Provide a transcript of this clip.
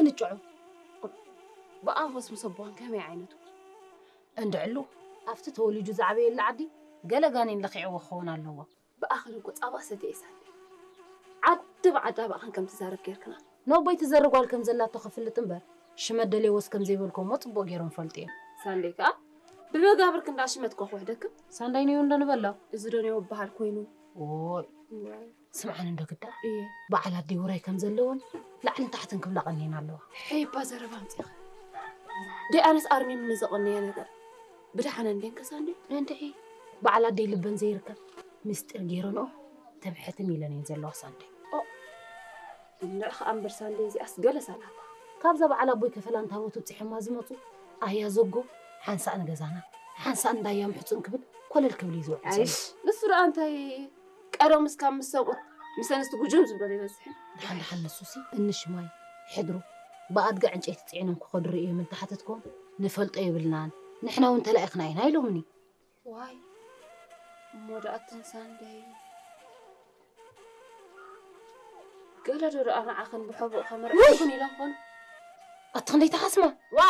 ንጭዑ ብኣንፈስ ምስ ኣቦኻን ከመይ ዓይነቱ? እንድዕሉ ኣብቲ ተወሊዱ ዝዓበየሉ ዓዲ ገለ ጋኔን ለኺዕዎ ክኸውን ኣለዎ። ብኣኽን እኮ ጻባ ሰተ እየ ሳንዴ። ዓዲ ብዓዳ ብኣኽን ከም ትዛረብ ጌርክና። ነቦይ ትዘርብ ጓል ከም ዘላቶ ክፍልጥ እምበር ሽመት ደልየዎስ ከም ዘይበልኩዎ እሞ ጽቡቕ ገይሮም ፈልጡ እዮም። ሳንዴ ከኣ ብመጋብር ክንዳ ሽመት ኮ ክውሕደክም። ሳንዳይ ነዮ እንዶ ንበሎ። እዚ ዶ ነዮ በሃል ኮይኑ። ኦይ። ስምዓን እንዶ ግዳ እየ። በዓል ኣደይ ውራይ ከም ዘለዎን ላዕልን ታሕትን ክብላ ቀኒየን ኣለዋ። ሄባ ዘረባ ኣምጺኻ። ደይ ኣነስ ኣርሚም ንዘቐነየ ነገር ብድሓነ እንዴን ከሳንዴ። እንድዒ በዓል ኣደይ ልበን ዘይርከብ ምስጢር ገይረንኦ ተብሕትም ኢለን እየን ዘለዋ ሳንዴ። ኦ፣ እንድዒ ከኣ እምበር ሳንዴ እዚኣስ ገለ ሳላታ። ካብዛ በዓል ኣቦይ ከፈላ እንታቦት ውጽሖማ ዝመጹ ኣያ ዘጎ ሓንሳእ ንገዛና ሓንሳእ እንዳያ ምሕጹን ክብል ኮለል ክብል እዩ ዝውዕል ዘሎ። ኣይሽ፣ ንሱ ደኣ እንታይ ቀደም እስካብ ምስ ሰብኡት ምስ ኣንስቲ ጉጅም ዝብሎ ይበዝሕ። ደሓን ደሓን ንሱሲ እንሽማይ ሕድሩ ብኣድጋ ዕንጨይቲ ጽዒኖም ክኸዱ ርእዮም እንተሓተትኩም ንፈልጦ የብልናን፣ ንሕና እውን ተላኢኽና ኢና ኢሎምኒ። ዋይ እሞ ደኣ እተን ሳንደይ ገለ ዶ ደኣ ንዓኽን ብሕቡእ ከመርዕኹን ኢሎም ኾኑ። ኣቲ ክንደይ ተሓስማ ዋ